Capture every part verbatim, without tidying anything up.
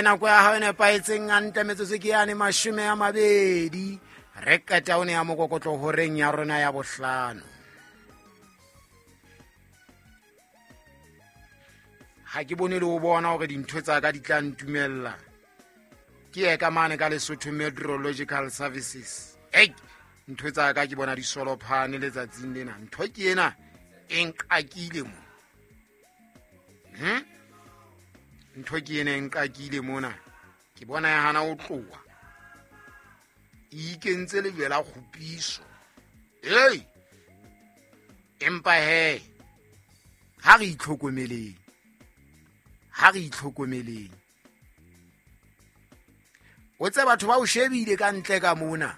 Nako ya hao e nepahetseng hantle, metsotso ke yane mashome a mabedi, re qeta o ne ya mokokotlo horeng ya rona ya bohlano. Ha ke bone le ho bona hore dintho tsa ka di tla ntumella. Ke ye ka mane ka Lesotho Meteorological Services. Ei, ntho tsa ka ke bona di solophane letsatsing lena. Ntho ke ena e nqakile mo. Hm? Ntho ke ena e nqakile mona. Ke bona ya hana ho tloha. E ikentse lejwe la kgopiso. Ei! Empa he, ha re itlhokomeleng. Ha re itlhokomeleng. O tse batho ba o shebile ka ntle ka mona.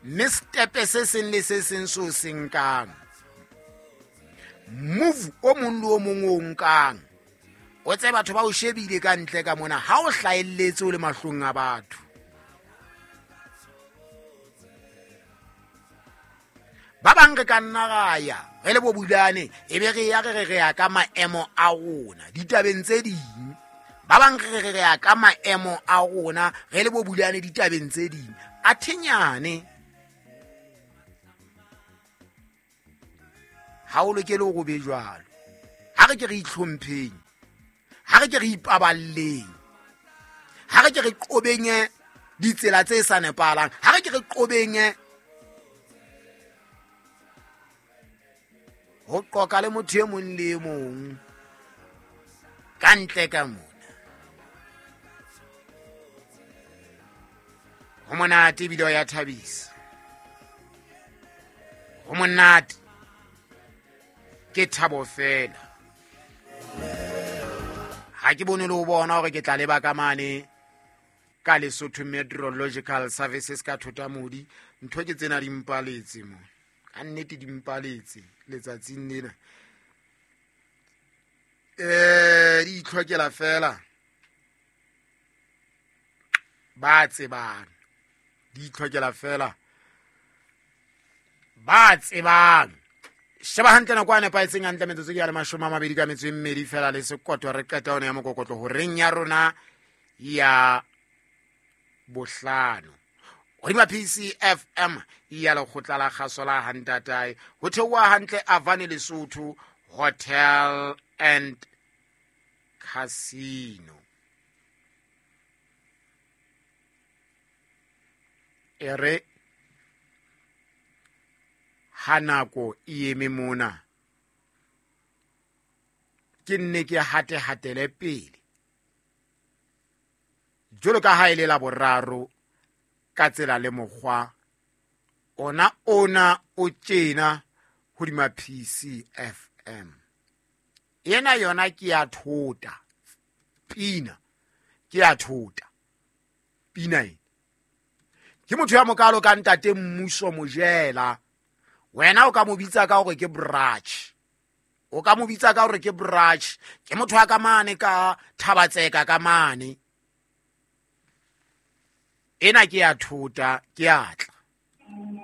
Mme stepe se seng le se seng seo se nkang, move o mong le o mong o nkang, o tse batho ba o shebile ka ntle ka mona, ha o hlahelletse o le mahlong a batho. Ba bang re ka nna ra ya re le bo Bulane, e be re ya re re re ya ka maemo a rona ditabeng tse ding. Ba bang re re re ya ka maemo a rona re le bo Bulane ditabeng tse ding. A thenyane ha o lokele hore o be jwalo. Ha re ke re itlhompheng, ha re ke re ipaballeng, ha re ke re qobeng ditsela tse sa nepahalang, ha re ke re qobeng ho qoka le motho e mong le e mong ka ntle ka mona. Ho monate ebile ho ya thabisa. Ho monate, ke thabo fela. Ha ke bone le ho bona hore ke tla leba ka mane ka Lesotho Meteorological Services ka Thotamodi. Ntho ke tsena di mpaletse mo. Ka nnete di mpaletse letsatsing lena. Eh, di itlhokela fela ba tsebang. Di itlhokela fela ba tsebang. Sheba hantle nako a nepahetseng hantle, metsotso ke ya le mashome a mabedi ka metso e mmedi fela le sekoto, re qeta yona ya mokokotlo horeng ya rona ya bohlano. Hodima P C F M ya lekgotla la kgaso la Hantatae, ho theoha hantle Avane Lesotho Hotel and Casino. E re ha nako e eme mona, ke nne ke hate hatele pele jwalo ka ha e le la boraro ka tsela le mokgwa ona ona o tjena hodima P C F M. Ena yona ke ya thota pina, ke ya thota pina ena. Ke motho ya mokalo ka ntate Mmuso Mojela. Wena o ka mo bitsa ka hore ke brach. O ka mo bitsa ka hore ke brach. Ke motho wa ka mane ka Thabatseka ka mane. Ena ke ya thota, ke ya tla.